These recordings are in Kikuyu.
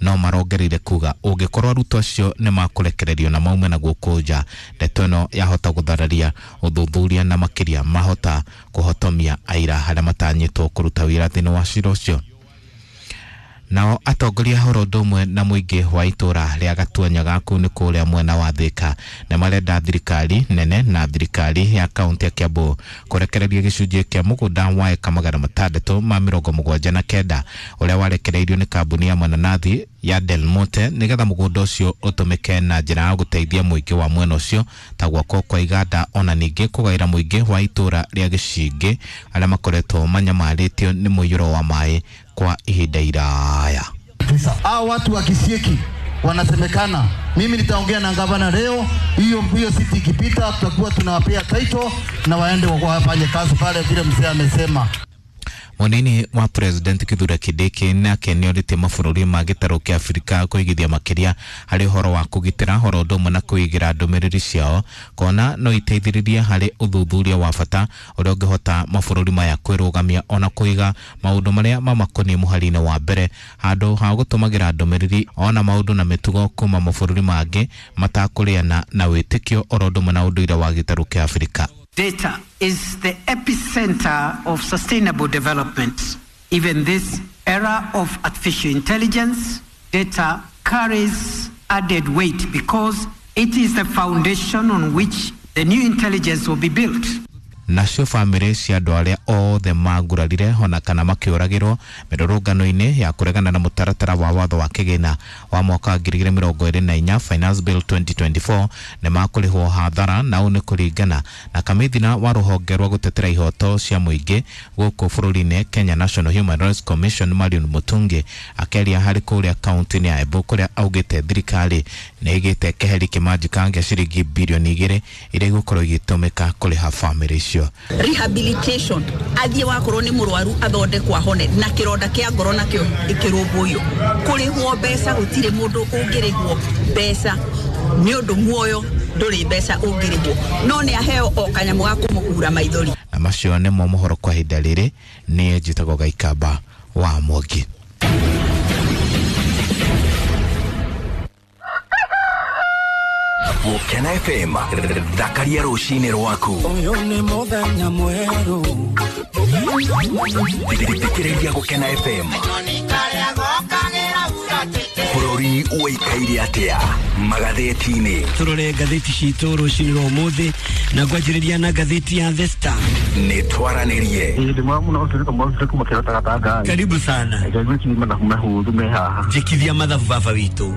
No marongereire kuga ũngĩkorwo arutwo acio nĩ makũrekererio na maume na gũkũ nja, ndeto ĩno yahota gũthararia ũthuthuria na makĩria mahota kũhotomia aira arĩa matanyĩtwo kũruta wĩra thĩinĩ wa cira ũcio. Nao atongoria horo ũndũ ũmwe na mũingĩ wa itũra rĩa Gatuanyaga kũu nĩ kũrĩa mwena wa Thika nĩ marenda thirikari nene na thirikari ya kaunti ya Kiambu kũrekereria gĩcunjĩ kĩa mũgũnda wa eka 679 ũrĩa warekereirio nĩ kambuni ya mananathi ya Del Monte nĩgetha mũgũnda ũcio ũtũmĩke na njĩra ya gũteithia mũingĩ wa mwena ũcio ta gwakwo kwa iganda, ona ningĩ kũgaĩra mũingĩ wa itũra rĩa Gĩcingĩ arĩa makoretwo manyamarĩtio nĩ mũiyũro wa maĩ kwa ihinda iraya. Hao watu wa Kisieki wanasemekana, mimi nitaongea na gavana leo, hiyo hiyo siti ikipita, tutakuwa tunawapea title na waende wafanye kazi pale vile mzee amesema. Munini wa President Kithure Kindiki nake nĩorĩtie mabũrũri ma gĩtarũ kĩa Afrika kũigithia makĩria harĩ ũhoro wa kũgitĩra horo ũndũ ũmwe na kũigĩra ndũmĩrĩri ciao kona no iteithĩrĩrie harĩ ũthuthuria wa bata ũrĩa ũngĩhota mabũrũri maya kwĩrũgamia ona kũiga maũndũ marĩa mamakoniĩ mũhari-inĩ wa mbere handũ ha gũtũmagĩra ndũmĩrĩri ona maũndũ na mĩtugo kuma mabũrũri mangĩ matakũrĩana na wĩtĩkio oro ũndũ ũmwe na ũndũire wa gĩtarũ kĩa Afrika. Data is the epicenter of sustainable development. Even this era of artificial intelligence, data carries added weight because it is the foundation on which the new intelligence will be built. Nacio bamĩrĩ cia andũ arĩa othe mangurarire ona kana makĩũragĩrwo mĩrũrũngano-inĩ ya kũregana na mũtaratara wa watho wa kĩgĩna wa mwaka wa 2024 Finance Bill 2024 nĩ makũrĩhwo hathara, na ũũ nĩ kũringana na kamĩthina wa rũhonge rwa gũtetera ihoto cia mũingĩ gũkũ bũrũri-inĩ Kenya National Human Rights Commission Marion Mutungi akĩaria harĩ kũrĩa kaunti-inĩ ya Embu kũrĩa augĩte thirikari nĩ ĩgĩte keheri kĩmanjĩka gĩa ciringi birioni 2 iria igũkorwo igĩtũmĩka kũrĩha bamĩrĩ icio. Rehabilitation athie wakorwo ni murwaru athondekwo ahone na kironda kia ngoro nakio ikirumbuyo kurihwo mbeca gutire mundu ungirihwo mbeca ni undu muoyo nduri mbeca ungirihwo no ni aheo o kanyamu ga kumuhura maithori. Na macio nĩmo mohoro kwa ihinda rĩrĩ. Niĩ njĩtagwo Gaikamba wa Mwangi. Gũkena FM, thakaria rũcinĩ rwaku. Ũyũ nĩ mũthenya mwerũ. Thikĩrĩria Gũkena FM. Bũrũri ũikaire atĩa magathĩti-inĩ? Tũrore ngathĩti citũ rũcinĩ rwa ũmũthĩ na ngwanjĩrĩria na ngathĩti ya The Star. Nĩ twaranĩrie. Karibu sana. Njĩkithia mathabu baba witũ.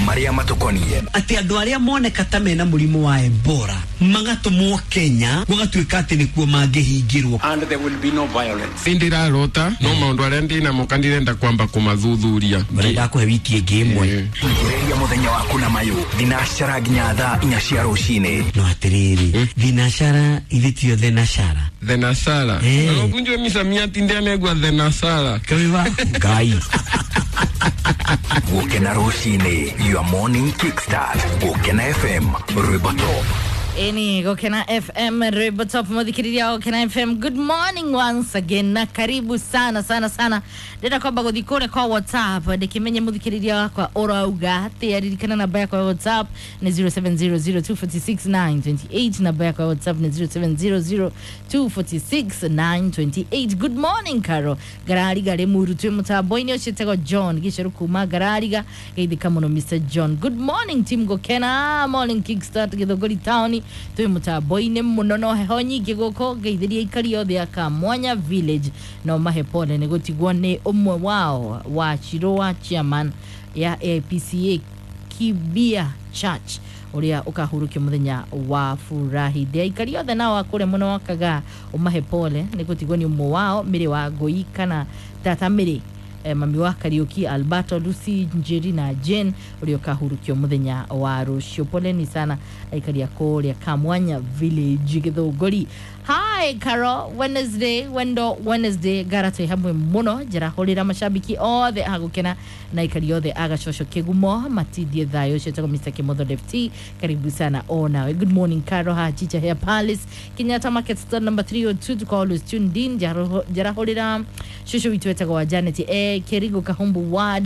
Marĩa matũkoniĩ. Atĩ andũ arĩa moneka ta mena mũrimũ wa Ebola magatũmwo Kenya gũgatuĩka atĩ nĩkuo mangĩhingĩrwo. And there will be no violence. Ndirarota no maũndũ arĩa ndĩnamo kandirenda kwamba kũmathuthuria. Marenda kũhe wiki ĩngĩ ĩmwe. Thikĩrĩria mũthenya waku na mayũ thinacara nginya thaa 4 cia rũcinĩ. No atĩrĩrĩ, thinacara ithe tio thenashara. Thenashara. Ũkunjwe misamiati ndianegwa thenashara. Kawiwa Ngai. Gũkena rũcinĩ, your morning kickstart. Gũkena FM, rwĩmbo top. Eni Gũkena FM rwĩmbo top muthikiriria wa Gũkena FM. Good morning once again na karibu sana sana sana. Ndĩrenda kwamba gũthiĩ kũrĩa kwa WhatsApp ndĩkĩmenye muthikiriria wakwa ũrauga atĩa. Ririkana namba yakwa ya WhatsApp nĩ 0700246928. Namba yakwa ya WhatsApp nĩ 0700246928. Good morning Caro Ngarariga rĩ muru twĩ mũtambo-inĩ ũcio etagwo John Gĩcerũ kuma Ngarariga. Geithĩka mũno Mr John. Good morning team Gũkena morning kickstart Gĩthũngũri town twĩ mũtambo-inĩ mũno no heho nyingĩ gũkũ. Ngeithĩria aikari othe a Kamwanya village no mahe pole nĩ gũtigwo nĩ ũmwe wao wa Chiroa chairman ya AIPCA Kibia Church ũrĩa ũkahurũkio mũthenya wa furahi. Ndĩ aikari othe nao akũrĩa mũno wakaga ũmahe pole nĩ gũtigwo nĩ ũmwe wao Mĩrĩ wa Ngũi kana tata Mĩrĩ, mami wa Kariuki Alberto Lucy Njeri na Jane ũrĩa ũkahurũkio mũthenya wa rũciũ. Poleni sana aikari a kũrĩa Kamwanya village Gĩthũngũri. Hi Caro, Wednesday wendo Wednesday gara twĩ hamwe mũno. Njarahũrĩra mashabiki othe a Gũkena na aikari othe a Gacoco Kĩgumo matindie thayũ. Ũcio etagwo Mr Kimotho Lefty, karibu sana o nawe. Good morning Caro, ha Chicha Hair Palace Kenyatta Market store number 302 tuko always tuned in. Njarahũrĩra cũcũ witũ etagwo wa Janet Kerigo Kahumbu Ward.